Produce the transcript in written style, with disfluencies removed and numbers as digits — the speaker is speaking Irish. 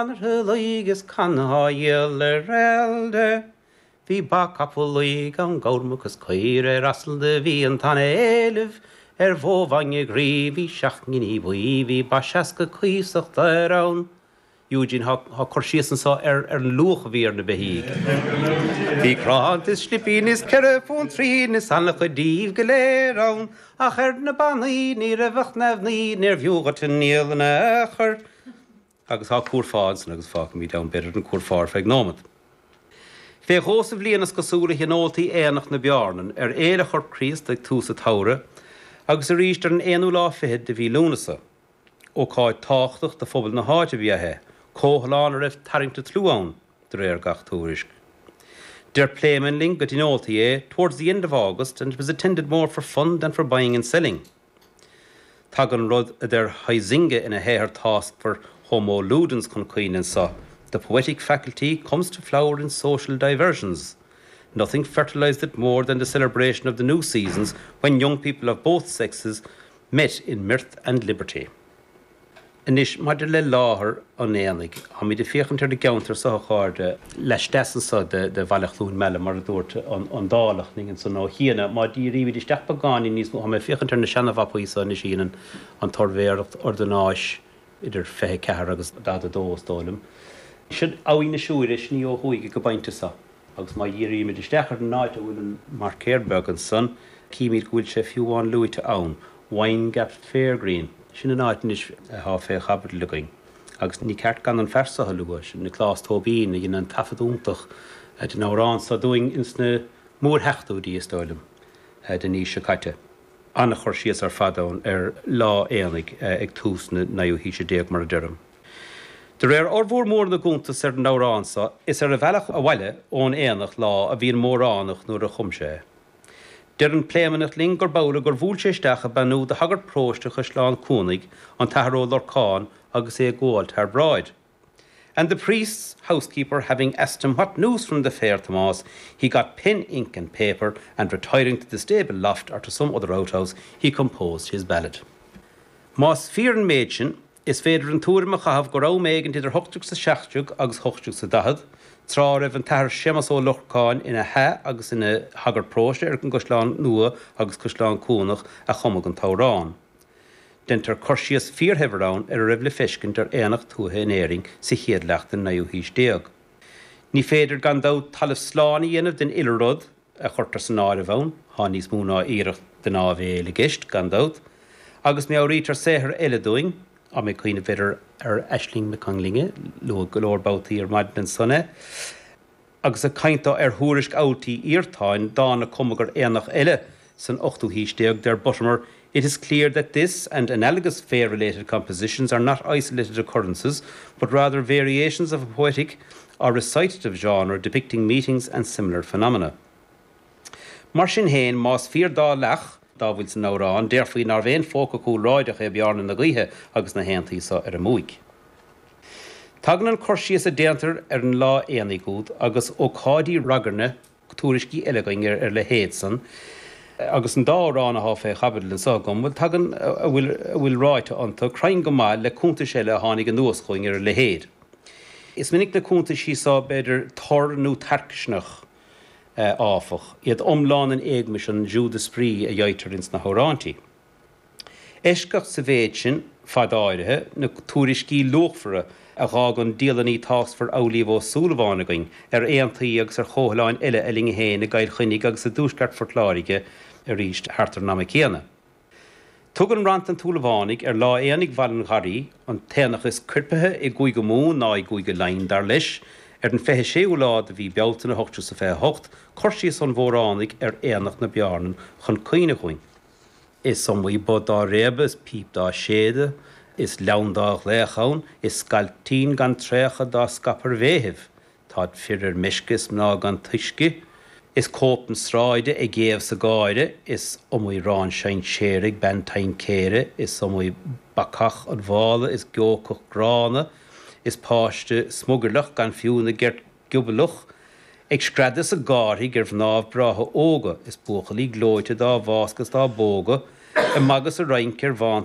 Conartha Laoigh is canna á dhíol ar Eilde. Bhí ba, capall laoigh ann, gabhar, muc is caoire, ar asal do bhí an t-ana-éileamh ar bhó bhainne groí, bhí seacht nginí buí, bhí ba 60 cuíosach daor ann. Eugene, Thá cur síos anso ar an luach a bhí ar na beithígh. Bhí cránta is slipín is 4 phunt trian is ana-chuid díobh go léir ann, ach ar na bannaí ní raibh ach neamhní, níorbh fhiú dhuit a ndíol in aon chor. Agus tá curfá ansan agus fágfaimid ann b'fhéidir an curfá ar feadh nóimead. Fé dhó sa bhliain is cosúil a thionóltaí Aonach na Beárnan ar Fhéile Chorp Críost ag tús an tsamhraidh agus arís ar an aonú lá fichead de mhí Lúnasa. Ócáid tábhachtach do phobal na háite ab ea é, comhthalán a raibh tarraingt an tslua ann, de réir gach tuairisc. Deir Pléimeann linn go dtionóltaí é towards the end of August and it was attended more for fun than for buying and selling. Tagann rud a deir Huizinga ina shaothar táscmhar Homo Ludens chun cuimhne anso, The poetic faculty comes to flower in social diversions. Nothing fertilized it more than the celebration of the new seasons when young people of both sexes met in mirth and liberty. Anois, maidir le láthair an aonaigh, táimid ag féachaint ar an gceantar seo, a chairde, laisteas anso de Bhaile Chluain Meala, mar a dúirt an Dálach linn ansan ó chianaibh. Má dhírímid isteach beagáinín níos mó, tá mé ag féachaint ar na seana-mhapaí seo anois a dhein an tSuirbhéireacht Ordanáis idir 24 agus 42, is dóigh liom. Sin Abhainn na Siúire, sin í ó thuaidh ag an bpointe seo. Agus má dhírímid isteach ar an áit a bhfuil an marcéir beag ansan, címid go bhfuil sé fiú amháin luaite ann, Windgap Fairgreen. Sin an áit anois athá fé chaibidil againn. Agus ní ceart gan an fear so a lua, sin Nioclás Tóibín, a dhein an taifead iontach den amhrán so dúinn ins na mórsheachtóidí, is dóigh liom, den aois seo caite. An-chur síos ar fad ann ar lá aonaigh ag tús na naoú haoise déag, mar a deirim. De réir fhormhór mór na gcuntas ar an amhrán so, is ar a bhealach abhaile ón aonach lá a bhí an Móránach nuair a chum sé é. Deir an Pléimeannach linn gurb amhlaidh gur bhuail sé isteach ag beannú do shagart paróiste Chaisleán Cuanaigh, an tAthair Ó Lorcáin, agus é ag gabháil thar bráid. And the priest's housekeeper having asked him what news from the fair, Tomás, he got pen, ink and paper, and retiring to the stable loft or to some other outhouse, he composed his ballad. Más fíor an méid sin, Is féidir an tuairim a chaitheamh gur am éigint idir 1817 agus 1840, tráth a raibh an tAthair Séamas Ó Lorcáin ina thae agus ina shagart paróiste ar an gCaisleán Nua agus Caisleán Cuanach, a cumadh an t-amhrán. Deintear cur síos fíorshaibhir ann ar a raibh le feiscint ar aonach tuaithe in Éirinn sa chéad leath den naoú haois déag. Ní féidir, gan dabht, talamh slán a dhéanamh den uile rud, a chuirtear san áireamh ann, thá níos mó ná iarracht den áibhéil i gceist, gan dabht, agus meabhraítear saothair eile dúinn, tá mé ag cuimhneamh, b'fhéidir, ar Aisling Mhic Conglinne, luadh go leor babhtaí ar maidin ansan é, agus ag caint dó ar Thuairisc Abhailt Uí Iartáin, dán a cumadh ar aonach eile san ochtú haois déag, deir Buttimer, It is clear that this and analogous fair-related compositions are not isolated occurrences, but rather variations of a poetic or recitative genre depicting meetings and similar phenomena. Mar sin féin, más fíor dá leath dá bhfuil san amhrán, déarfaí nárbh aon phóca cúlráideach é Bearna na Gaoithe agus na haontaí so ar a mbuaic. Tagann an cur síos a déantar ar an lá aonaigh úd agus ócáidí ragairne tuairiscí eile againn ar a leithéid san, agus an dá amhrán athá fé chaibidil anso agam, bhuel, tagann a bhfuil a bhfuil ráite iontu cruinn go maith le cuntais eile a tháinig anuas chugainn ar a leithéid. Is minic na cuntaisí so, b'fhéidir, tur nó tarcaisneach, áfach, iad iomlán in éagmais an jeu d'esprit a gheibhtear ins na hamhráintí. Eisceacht sa mhéid sin, fad áirithe, na tuairiscí luachmhara a dh'fhág an dialannaí táscmhar Amhlaoibh Ó Súilleabháin againn ar aontaí agus ar chomhthalláin eile a linne féin i gCill Chainnigh agus i dtuaisceart Phort Láirge arís thart ar an ama céanna. Tugann rant an tSúilleabhánaigh ar lá aonaigh Bhaile an Gharraí, an t-aonach is coirpithe i gCúige Mumhan ná i gCúige Laighean, dar leis, ar an 26ú lá de mhí Bealtaine 1828, cur síos an Mhóránaigh ar aonach na Beárnan chun cuimhne dhúinn. Is iomaí both dá réabadh is píp dá séideadh, is leann dá ghlaoch ann, is scailtín gan traochadh dá scaipeadh ar bhéithibh. Táid fir ar meisce is mná gan tuisce, is cóip na sráide ag éamh 's ag gáire, is iomaí rann sinséir ag bean taincéire, is iomaí bacach an mhála is geocach gránna, is páiste smugairleach gan fiú na gceirt gioblach, ag screadadh 's ag gárthaigh ar mhnáibh breátha óga, is buachaillí gleoite dá bhfáscadh 's dá bpógadh, ag magadh 's ag rince ar bhánta.